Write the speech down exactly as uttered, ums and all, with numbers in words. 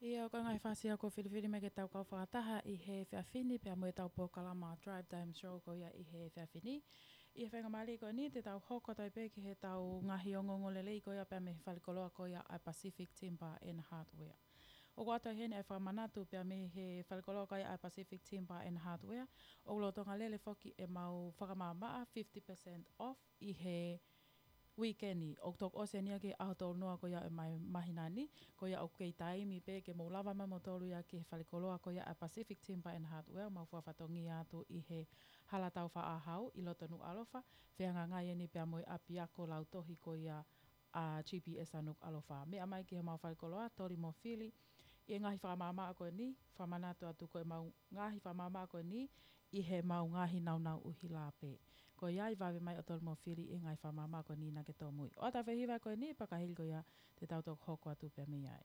ʻIo, ko e ngaahi fasi ia kuo filifili mai ke tau kau fakataha ʻi he efiafi ni pea mo ʻetau polokalama Drive Time Show ko ia ʻi he efiafi ni. ʻI he faingamālie ko eni te tau hoko atu ai pē ki heʻetau ngaahi ongoongolelei ko ia pea mei he falekoloa ko ia ʻa e Pacific Timber and Hardware. ʻOku ʻoatu heni ʻa e fakamanatu pea mei he falekoloa ko ia ʻa e Pacific Timber and Hardware, ʻoku lolotonga lele foki ʻemau fakamaʻamaʻa fifty percent off ʻi he uike ni. ʻOku toki ʻosi eni ia ki he ʻaho tolu noa ko ia ʻo e māhina ni, ko ia ʻoku kei taimi pē ke mou lava mai moutolu ia ki he falekoloa ko ia ʻa e Pacific Timber and Hardware, mau fakafatongia atu ʻi he Hala Taufaʻāhau ʻi loto Nukuʻalofa, fehangahangai eni pea mo e ʻapiako lautohi ko ia ʻa G P S ʻa Nukuʻalofa. Meʻa mai ki heʻemau falekoloa, toli mo fili ʻi he ngaahi fakamaʻamaʻa ko eni, fakamanatu atu ko ʻemau ngaahi fakamaʻamaʻa ko eni ʻi heʻemau ngaahi nāunau ʻuhila pē. Ko ia ʻi vave mai ʻo toli mo fili ʻi he ngaahi fakamaʻamaʻa ko eni naʻa ke tōmui. ʻOatu ʻa e fakahiva ko eni, pea ka hili ko ia te tau toki hoko atu pē mei ai.